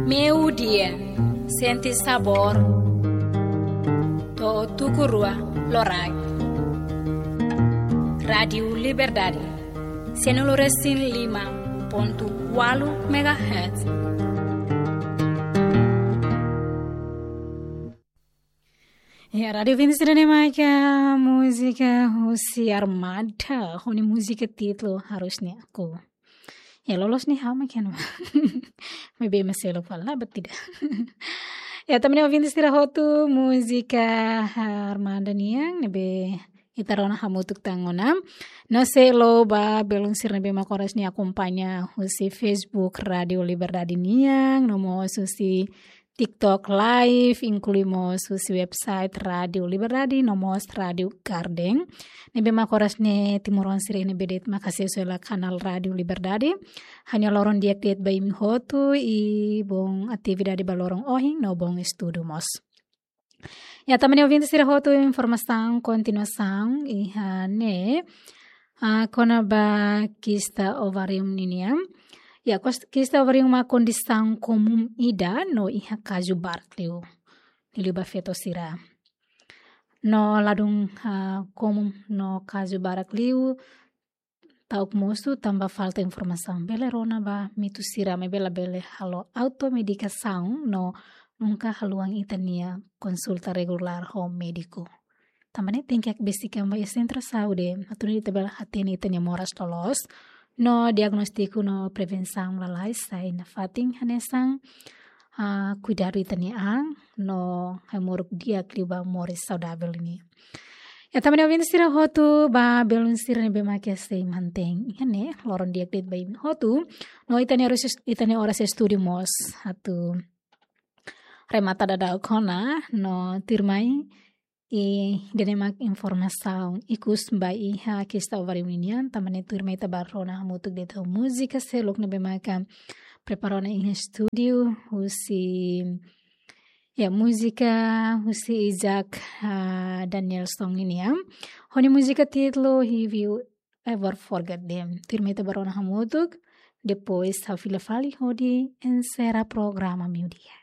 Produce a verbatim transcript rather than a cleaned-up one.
Meio-dia, sente sabor. To'o tuku rua loraik. Rádiu Liberdade, cento e cinco e cinco ponto quatro megahertz. Ya, rádiu ouvinte sira ne'e maka múzika husi Armada, ho nia múzika títulu Harusnya Aku. Ya, loloos ne'e ha'u mak hanoin. Maibé ema seluk fala, "Ba tidak." Ya, tanba ne'e ouvinte sira hotu, múzika Armada nian, ne'ebé ita rona hamutuk tan ona. No sei haluha ba belun sira ne'ebé mak oras ne'e akompaña husi Facebook Rádiu Liberdade nian, no mós husi TikTok Live, inklui mós husi website Rádiu Liberdade, no mós Rádiu Garden. Ne'ebé mak oras ne'e timoroan sira ne'ebé de'it mak asesu hela kanál Rádiu Liberdade. Ha'u-nia loron di'ak de'it ba imi hotu, i bom atividade ba loron ohin, no bom estudu mós. Ya, tanba ne'e ouvinte sira hotu, informasaun kontinuasaun iha ne'e, ah, kona-ba kista ovarium ninian. Ya, kos-, kista ovarium mak kondisaun komún ida no iha kazu barak liu, liuliu ba feto sira. No ladún, ah, komún no kazu barak liu, ta'uk mosu tanba falta informasaun. Bele rona ba mitu sira, maibé labele halo automedikasaun no nunka haluan ita-nia konsulta regulár ho médiku. Tanba ne'e tenke hakbesik an ba iha sentru saúde, atu nune'e ita bele hatene ita-nia moras loloos. No diagnóstiku no prevensaun lalais sai nafatin hanesan, ah, kuidadu ita-nia an, no hemu di'ak liu ba moris saudavel nian. Ya, tanba ne'e ouvinte sira hotu, ba belun sira ne'ebé mak sei mantein iha ne'e, loron di'ak de'it ba imi hotu. No ita-nia oras, ita-nia oras estúdiu mós atu remata daudaun ona, no tuirmai, i ida-ne'e mak informasaun ikus ba iha kista ovarium ninian, tanba ne'e tuirmai ita bá rona hamutuk de'it ho múzika seluk ne'ebé maka prepara ona iha estúdiu, husi, ya, múzika husi Isaac, ah, Danielson ninian. Ho nia múzika títulu Have You Ever Forget Them. Tuirmai ita bá rona hamutuk, depois ha'u fila fali hodi enserra programa meio-dia.